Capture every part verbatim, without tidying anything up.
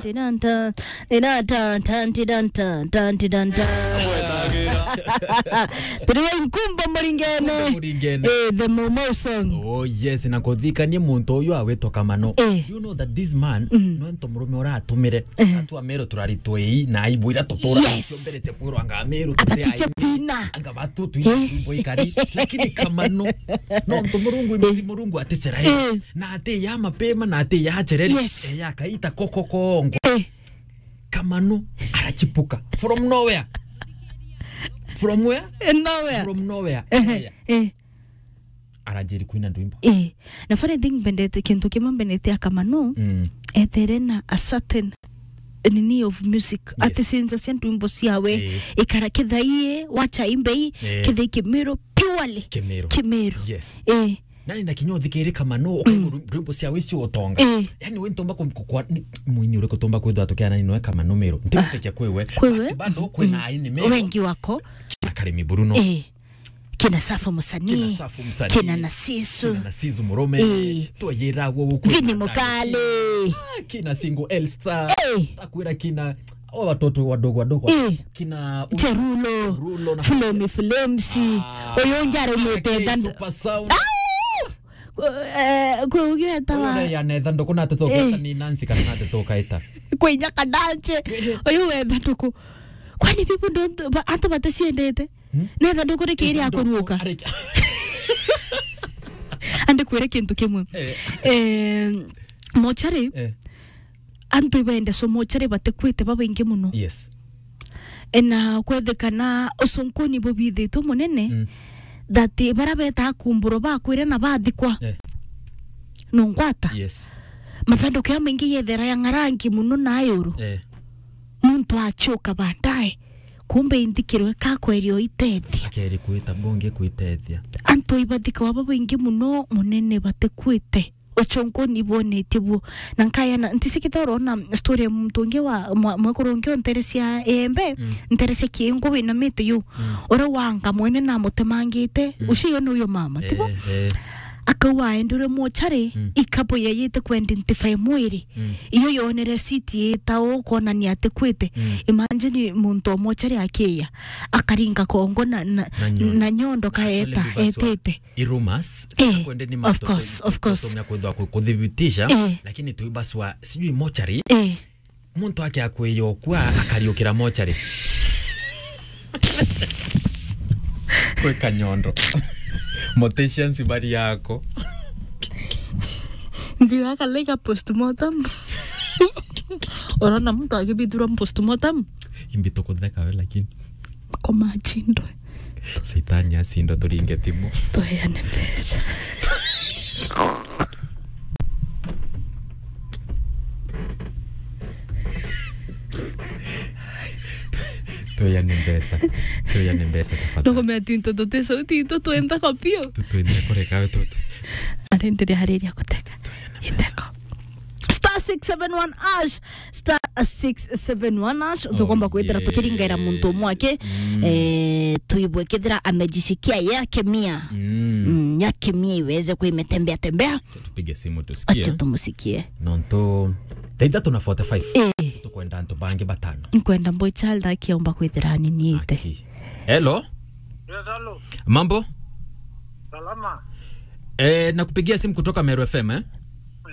Tidan tan, tidan tan, tan, tidan tan, tan, tidan tan. Turi wa Inkumbo Muringene. Inkumbo Muringene. Eh, the Momo song. Oh yes, na kuthikania muntu uyu awitwa Kamano. Eh. You know that this man, mm, no nto murume uratumire. Eh. Atua Meru turari twei na aibu ira tutura. Yes. Cio mbere cia kwirwa anga Meru tuti ati cia ai. Kwina. Anga batu tu. Eh. Imbo ikari. Lakini Kamano. No nto Murungu imisi, eh, Murungu aticera. Eh. Na ati ya mapema, na ati ya chereri. Yes. Eh, ya kaita koko kongo. Eh. Kamano arachipuka. From nowhere. From where? Eh, nowhere. From nowhere. Eh, eh. Aranjiri kuina ndwimbo. Eh. Na funny thing mbendete, kintu kimwe mbendete a Kamano, mm, ethere na a certain nini of music. Yes. Ati sinza cia ndwimbo ciawe, eh, ikara kithai, wacha imbei, eh, kithai Kimiru, purely Kimiru. Kimiru. Yes. Eh. Nani na kinya uthikiri Kamano, ukaigua, mm, rwimbo cia wisi utonga. Eh. Yani we ntomba ku-, ku-, kwa-, ni mwini uriku tumba kwithwa tukiana ni noe Kamano Meru. Ntimutekia kwiwe. Kwiwe? But bado kwina, mm, aini Meru. Wengi wako. Kina Karimi Bruno. Eh. Kina Safu Musanii. Kina Safu Musanii. Kina Nasisu. Kina Nasisu Murume. Eh. Twayira gwo gukwe. Vini Mukali. Ah, kina Single L Star. Eh. Takwira kina o watoto wadogo wadogo. Eh. Kina u-, Cherulo, Cherulo na Flemi Flames. Ah, uyu ungi arumite K danda. Super Sound. Ah! Ku-, eh, kwi ugi etawa. Uyu ya netha nduku na teto, eh, keta ni Nancy kana na teto kaita. Kwi inya kadanche. Eh. Uyu wetha nduku. Kwani people don't, ba-, antu baticiendete? Hmm? Netha nduku ni kiri akuruka. Areke. Andi kwire kintu kimwe. Eh. Eh, mochari. Eh. Antu ibende so mochari batikwite babaingi muno. Yes. E, na kwethikana ucunkuni bubithitwe munene, mm, that bara beta kumburo bakwire na bathikwa. Eh. Nungwata. Yes. Mathanduku ya maingi yethera ya ngarangi muno na ayuru. Eh. Muntu achoka baadaye. Kumbe inthikirwe kakwerio itethia. Akeri kwita bonge kwitethia. Antu ibathikwa babaingi muno munene batikwite. Uchonkoni bwonetie buo. Na nkayana, ntisikite urona story ya muntu ungi wa mwa-, mwekuru ungi o ntere cia Embe, mm, ntere cia Kiingu wina miti yu. Mm. Uria wanga mwene na amutemangite, mm, ucio yo ni uyo mama, tibo? Eh, eh. Akauga aendire mochari, mm, ikabu yayite ku identify mwiri. Mm. Iyo yonere siti ita u konania ati kwite. Mm. Imagine muntu o mochari akiya, akaringa kongo na, na, na nyondo, na nyondo kaeta, actually, etete. I rumors, eh, akwende ni of course, of course. Tumia kwithwa ku-, kuthibitisha, eh, lakini tuibaswa, sijui mochari. Eh. Muntu ake akwiyokwa akariukira mochari. Kwe kanyondo. Morticians bari yako. Ndio akaleka postmortem. Urona muntu akibithurwa postmortem? Imbi tukutheka we lakini. Koma achindwe. Saitani acindwe, turinge timu. Tuheane mbeca. Tuheane mbeca. Tuheane mbeca tafadhali. Ndukumenya tinto tuti sauti, into twenda kopio. Tu-, twenda kureka we tu-, tu-, arenderea hariria guteka. Tuheane mbeca. Itheko. Star six seven one hash, star six seven one hash. Oh, tukomba kwithira, yeah, tukiringaira muntu umwe aki, mm, eh, tuibwe kethira amejishikia yake mia. Mm. Mm, yake mia iweze kuimetembea tembea. Tupige simu tusikie. Acha tumusikie. Nontu thaa ithatu na forty-five. Eh. Tukwenda antu bangi batano. Nkwenda boy child akiomba kwithira aniniite. Aki. Hello? Yes, hello. Mambo? Salama. Eh, nakupigia simu kutoka Meru F M, eh?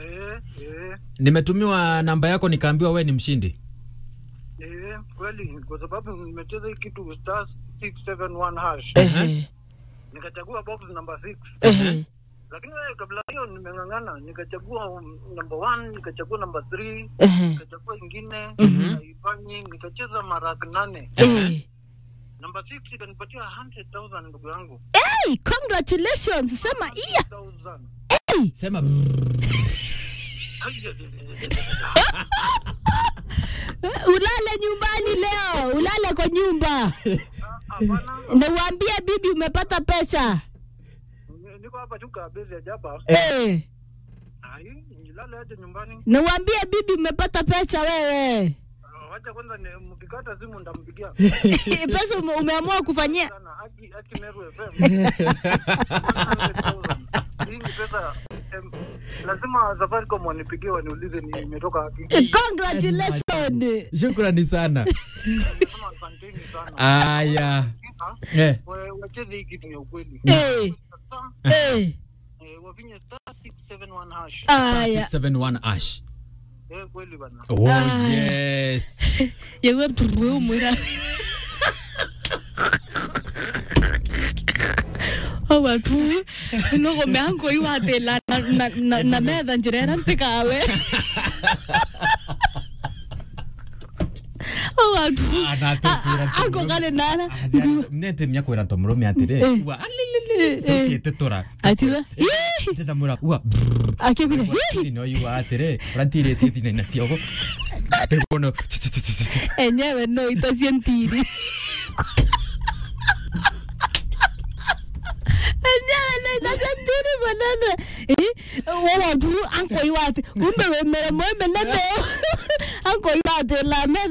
Eh, eh. Nimetumiwa namba yako nikaambiwa wewe ni mshindi. Eh, kweli, kwa sababu nimecheza hii kitu star six seven one hash. Ehe. Nikachagua box number six. Ehe. Lakini wewe, kabla hiyo nimeng'ang'ana, nikachagua, um, number one, nikachagua number three, ehe, nikachagua ingine, mhm, haifanyi, nikacheza mara nane. Eh. Number six ikanipatia a hundred thousand, ndugu yangu. Hey, congratulations, sema iya. Thousand. Hey. Sema brrr. Ulale nyumbani leo, ulale kwa nyumba. Ah, hapana. Na uambie bibi umepata pesa. Ni-, niko hapa tu kabisa hapa. Eh. Ai, nilale aje nyumbani. Na uambie bibi umepata pesa wewe. Ah, wacha kwanza ni-, mkikata simu ndampigia. Pesa ume-, umeamua kufanyia. Sana, haki, haki Meru F M. One hundred thousand. Hii ni pesa, em, lazima Safaricom wanipigie waniulize ni imetoka wapi. Congratulations. Shukrani sana. Nasema asanteni sana. Aya. Sasa, eh, wa-, wacheze hii kitu ya ukweli. Eh. Sasa, eh, eh, wafinye star six seven one hash. Aya. Star six seven one hash. Eh, kweli bana. Oh, aya, yes. Yewe mtu wewe mwira. Owa tu. Nogo meango iwatela na, na, na, na metha njira ira ntikawe. Owa tu. Ah, na tu. A-, a-, kwira tu. Ako kale nara. Ah, nete mnya kwira nto murume atiri. Eh. Wa, alilili. Eh, eh. Sauti itetora. Atiga. Ii! Ndeta mura, ua, brrr. Akibira. Ii! Ni no yua atiri, urantire cio thina na ciogo. Ndebono. Enyewe no itacio ntiri. Enyewe no itacio ntiri manene. Eh? Wowa tu, anko iwati. Umbe wemere mwe menene. Anko iwati la metha